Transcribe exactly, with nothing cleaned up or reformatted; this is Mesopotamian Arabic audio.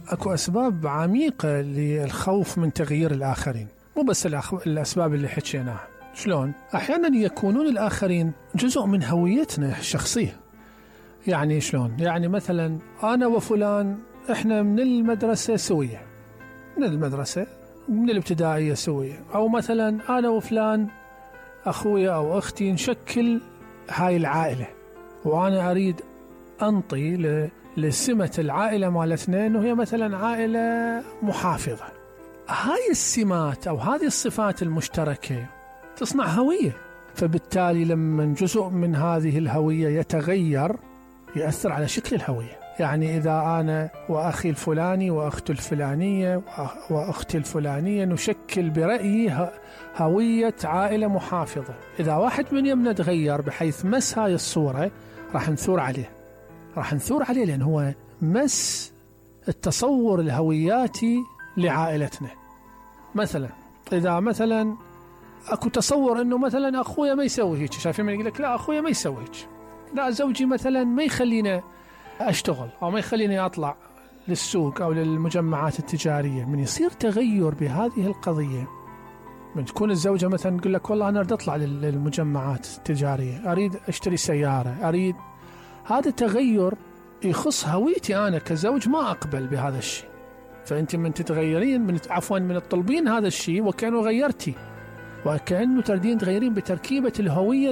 اكو اسباب عميقة للخوف من تغيير الاخرين، مو بس الاسباب اللي حكيناها. شلون؟ احيانا يكونون الاخرين جزء من هويتنا الشخصية. يعني شلون؟ يعني مثلا انا وفلان احنا من المدرسة سوية، من المدرسة من الابتدائية سوية، او مثلا انا وفلان اخويا او اختي نشكل هاي العائلة، وانا اريد انطي لسمة العائلة مالتنا انه هي مثلا عائلة محافظة. هاي السمات او هذه الصفات المشتركة تصنع هوية، فبالتالي لما جزء من هذه الهوية يتغير يأثر على شكل الهوية. يعني إذا أنا وأخي الفلاني وأختي الفلانية وأختي الفلانية نشكل برأيي هوية عائلة محافظة، إذا واحد من يمنا تغير بحيث مس هاي الصورة راح نثور عليه، راح نثور عليه لأن هو مس التصور الهوياتي لعائلتنا. مثلا إذا مثلا أكو تصور إنه مثلا أخويا ما يسوي هيك، شايفين من يقول لك لا أخويا ما يسوي هيك، لا زوجي مثلا ما يخلينا أشتغل أو ما يخليني أطلع للسوق أو للمجمعات التجارية. من يصير تغير بهذه القضية، من تكون الزوجة مثلا تقول لك والله أنا أريد أطلع للمجمعات التجارية، أريد أشتري سيارة، أريد، هذا تغير يخص هويتي أنا كزوج، ما أقبل بهذا الشيء. فأنت من تتغيرين من عفوا من تطلبين هذا الشيء وكأنه غيرتي، وكأنه تردين تغيرين بتركيبة الهوية